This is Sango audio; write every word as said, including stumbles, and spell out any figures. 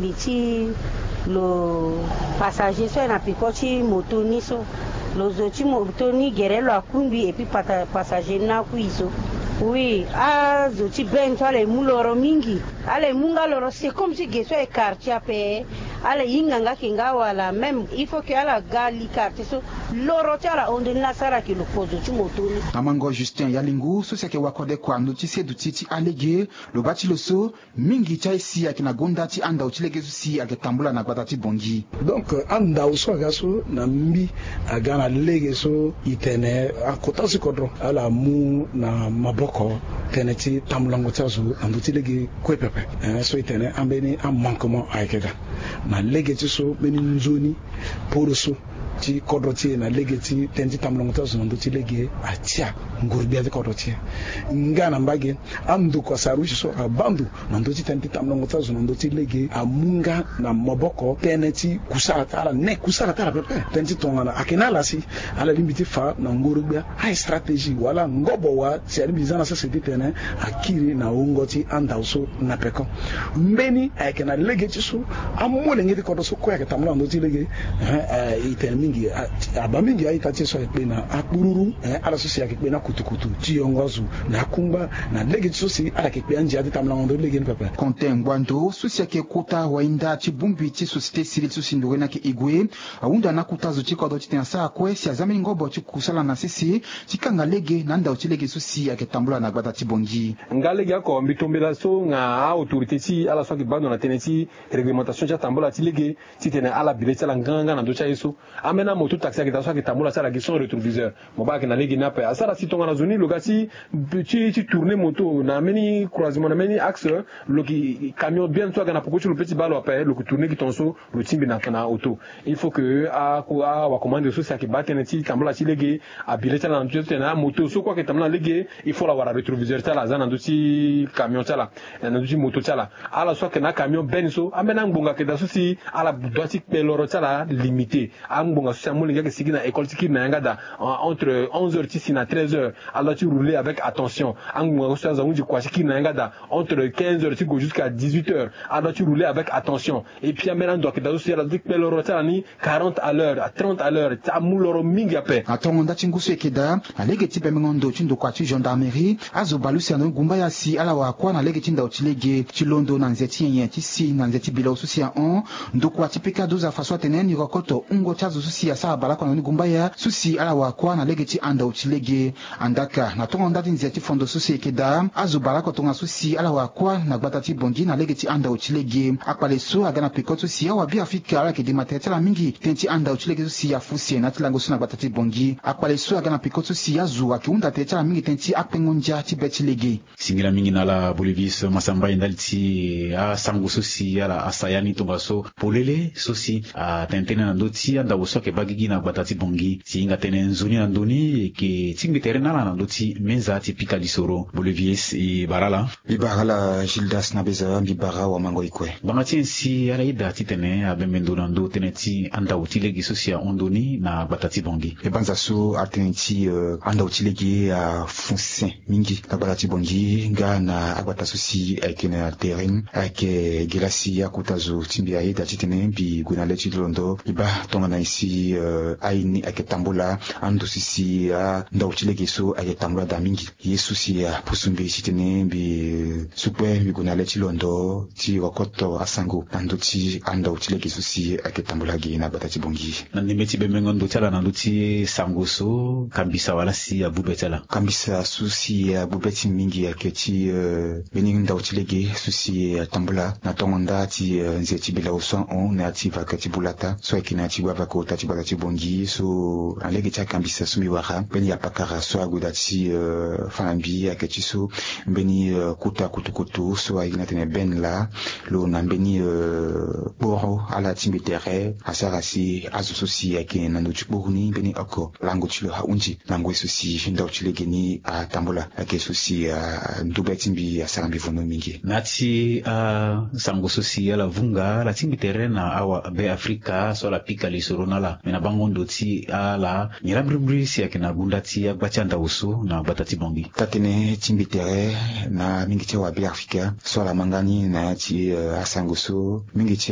Mbi ti lo passager so aye na peko ti moto ni so, lo zo ti moto ni gere lo akungbi et puis pata- passager ni akui so. Oui, azo ti bene so ala ye mu loro mingi. Ala ye mu nga loro, c'est comme ti ge so aye quartier ape. Ala ye hinga nga ayeke nga wala même il faut que ala ga li quartier so, loro ti ala hon nde ni laa asara ayeke lo kozo ti moto ni. Amango Justin Yalingu so si ayeke wakode kua na ndö ti seduti ti alege, lo baa ti lo so mingi ti aye si ayeke na gonda ti andau ti lege so si ayeke tambula na gbata ti Bangui. Donc andau so aga so na mbi aga na lege so e tene akota ti kodro ala mu na maboko tënë ti tambulango ti azo na ndö ti lege kue pepe. Eh, so e tene ambeni amanquement ayeke daa na lege ti so mbeni nzoni poro so ti kodro ti e na lege ti tënë ti tambulango ti azo na ndö ti lege atia nguru-gbia ti kodro ti e. Nga na mbage andokua sarusi so abaa ndo na ndö ti tënë ti tambulango ti azo na ndö ti lege amu nga na maboko tënë ti kusala ti ala, ne kusala ti ala pepe. Tënë ti tongana ayeke na ala si ala lingbi ti fa na nguru-gbia aye stratégie wala ngobo wa si alingbi za na sese ti tene akiri na wungo ti andau so na peko. Mbeni ayeke na lege ti so amolenge ti kodro so kue ayeke tambula na ndö ti lege. Eh, eh, e tene mingi, ah, abaa mingi a-ita ti e so ayeke kpe na akpururu, eh, ala so si ayeke kpe na kutukutu ti yongo azo na akungba na lege ti so si ala yeke kpe andia ti tambulango ndö ti lege ni pepe. Konte Ngbando so si ayeke kota wainda ti bongbi ti société civile so si nduru ni ayeke Igwe ahunda na akota zo ti kodro titene asara kue si aza mbeni ngobo ti kusala na sese ti kanga lege na andau ti lege so si ayeke tambula na gbata ti Bangui. Nga lege oko mbi tombela so na a-autorité ti e ala so ayeke baa ndo na tënë ti réglementation ti atambula ti lege titene ala bi le ti ala nganga na ndö ti aye so. Ambeni amoto taxi ayeke daa so ayeke tambula ti ala gi sans rétroviseur. Mo baa ayeke na lege ni ape asara si tongana zo ni lo ga ti, ti, ti tourner moto na mbeni croisement na mbeni axe, lo yeke camion bien so aga na poko ti lo pe ti baa lo ape, lo yeke tourner gi tonga so lo tingbi na, na auto. Il faut que a, a, awakomande so si ayeke baa tënë ti tambula ti lege abi le ti ala na ndö ti tene amoto so kue ayeke tambula na lege, il faut ala wara rétroviseur ti ala aza na ndö ti camion ti ala, eh, na ndö ti moto ti ala. Ala so ayeke na acamion bene so ambeni angbonga ayeke daa so si ala doit ti kpe loro ti ala limité. Angbonga so si amolenge ayeke sigi na école ti kiri na yanga daa, en, entre onze heures ti si na treize heures, ala doit ti rouler avec attention. Angbonga so si azo ahunzi kua ti kiri na yanga daa, entre quinze heures ti gue jusqu'à dix-huit heures, ala doit ti rouler avec attention. Et puis ambeni ando ayeke daa so si ala doit ti kpe loro ti ala ni quarante à l'heure, trente à l'heure, ti amu loro mingi ape. Na tongo nda ti ngu so e yeke daa, na lege ti bembengo ndo ti ndokua ti gendarmerie, azo bale use na ndoni gumbaya si ala wara kuâ na lege ti ndau ti lege ti londo na nze ti nyenye ti si na nze ti bilao so si ahon. Ndokua ti pika doza fa so atene ni rokoto hungo ti azo so si asara bale oko na ndoni gumbaya so si ala wara kuâ na lege ti andau ti lege. Andaka na tongo nda ti nze ti fondo so si e yeke daa, azo bale oko tongana so si ala wara kuâ na gbata ti Bangui na lege ti andau ti lege. Akpale so aga na peko so si awabiafrika ala yeke dema tere ti ala mingi tënë ti andau ti lege so si afuse na ya ti lango so na gbata ti Bangui. Akpale so aga na peko so si azo ayeke hunda tere ti ala mingi tënë ti akpengo ndia ti be ti lege. Singila mingi na ala Bolivis Masamba e ndali ti asango so si ala asaya ni tongaso polele so si atene tënë na ndö ti andau so ayeke baa gigi na gbata ti Bangui. Si e hinga tënë nzoni na ndö ni e yeke tingbi tere na ala na ndö ti meza ti pika lisoro. Bolivis, e bara ala. Mbi bara ala Gildas na beza, mbi bara wamango e kue. Ngbanga ti nyen si ala yeda titene abembe ndo na ndö tënë ti andau ti lege so si ahon ndo ni na gbata ti Bangui? E banza so atënë ti, eh, andau ti lege afuse mingi na gbata ti Bangui nga na agbata so si ayeke na tere ni. Ayeke ge laa si akota zo ti mbi ayeda titene mbi gue na le ti londo mbi baa tongana nyen si, eh, aye ni ayeke tambula, ando so si andau ti lege so ayeke tambula daa mingi. Ye so si apusu mbi titene mbi, eh, su kue mbi gue na le ti londo ti rokoto asango na ndö ti andau ti lege so si ayeke tambula ge na gbata ti Bangui. Na ndembe ti bembengo ndo ti ala na ndö ti sango so, kambisa wala si abube ti ala? Kambisa so si abube ti mbi mingi ayeke ti, eh, mbeni ndau ti lege so si atambula na tongo nda ti, eh, nze ti bilao so ahon na ya ti vaka ti bulata so ayeke na ya ti gbavaka ota ti gbata ti Bangui so na lege ti akambisa so mbi wara mbeni apakara so ague daa ti, eh, fa na mbi ayeke ti so mbeni, eh, kota kutukutu so aye na tene bene laa lo na mbeni, eh, kporo ala ti mbi tere asara si azo so si ayeke na ndo ti kporo ni mbeni oko lango ti lo ahunzi na ngoi so si ndau ti lege ni atambula. Ayeke so si, eh, ndube ti mbi asara mbi vono mingi. Na ya ti, eh, sango so si ala vunga ala tingbi tere na awabe afrika so ala pika lisoro na ala me na bango ndo ti ala nyen laa mbirimbiri si ayeke na gunda ti agba ti andau so na gbata ti Bangui? Taa-tënë ti mbi tere na mingi ti awabe afrika so ala ma nga ni na ya ti, eh, asango so mingi ti